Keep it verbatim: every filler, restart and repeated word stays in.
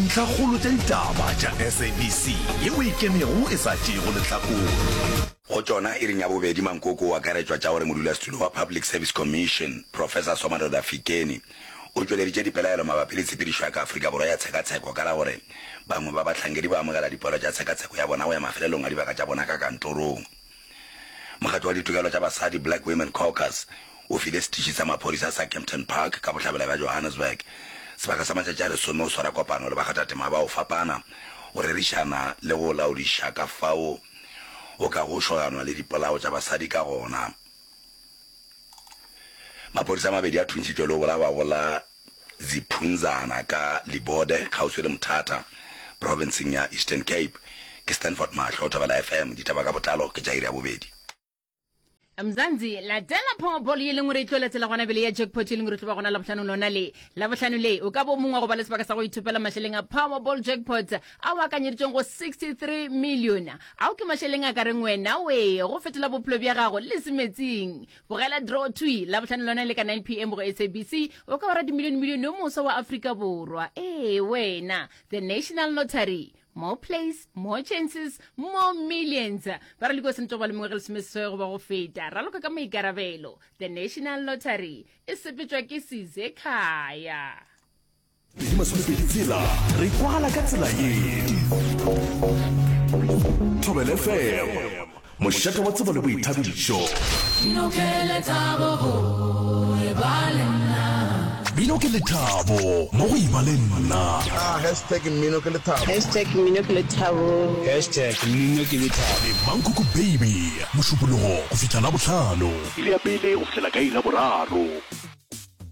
Dintlhakgolo tša ditaba tša S A B C yeo e ikemego e sa tšeego lehlakore. Go tšona, iring ya bobedi mankoko o akaretšwa tša gore modulasetulo wa Public Service Commission, Professor Somadoda Fikeni, o tšweleditše dipelaelo mabapi le tshepedišo ya ka Afrika Borwa ya tshekatsheko ka la gore bangwe ba bahlankedi ba amogela dipoelo tša tshekatsheko ya bona go ya mafelelong a dibaka tša bona ka kantorong. Mokgatlo wa ditokelo tša basadi Black Women Caucus o file setiši sa maphodisa sa Kempton Park ka bohlabela bja Johannesburg sebaka sa matšatši a lesome go swara kopano le bakgathatema ba go fapana go rerišana le go laodiša ka fao go ka go šoganwa le dipolao tša basadi ka gona. Maphodisa a mabedi a thuntšhitšwe le go bolawa go la Ziphunzana ka Libode kgauswi le Mthatha profenseng ya Eastern Cape. Ke Stanford Mahlo, Thobela F M, ditaba ka botlalo ke tša iri ya bobedi. Mzansi, latela Powerball ye leng gore e tlo latela gona bele ya jackpot ye leng gore e tlo ba gona Labohlano lona le. Labohlano le o ka bo mongwe wa go ba le sebaka sa go ithopela mašeleng a Powerball jackpot ao akanyeditšweng go sixty-three million. Ao ke mašeleng a ka reng wena we go fetola bophelo bja gago le semetsing. Bogela draw twi Labohlano lona le ka nine p m go S A B C, o ka ba radimilione milione yo moswa wa Afrika Borwa. Ee wena, The National Lottery. More plays, more chances, more millions. Ba re liko sentse go ba le mengwaga lesomeseswai goba go feta. Raloka ka maikarabelo. The National Lottery e sepetšwa ke Size Khaya. Pedi masomepedi tshela re kwagala ka tsela ye. Thobela F M, mošate wa tsebo le boithabišo. Mmino ke lethabo go e ba le nna. Mmino ke lethabo mo go eba le nna. Ah, hashtag mmino ke lethabo. Hashtag mmino ke lethabo. Hashtag mmino ke lethabo. Le Mankoko Baby, Mošupologo go fihla Labohlano. Iri ya pele go fihlela ka iri ya boraro.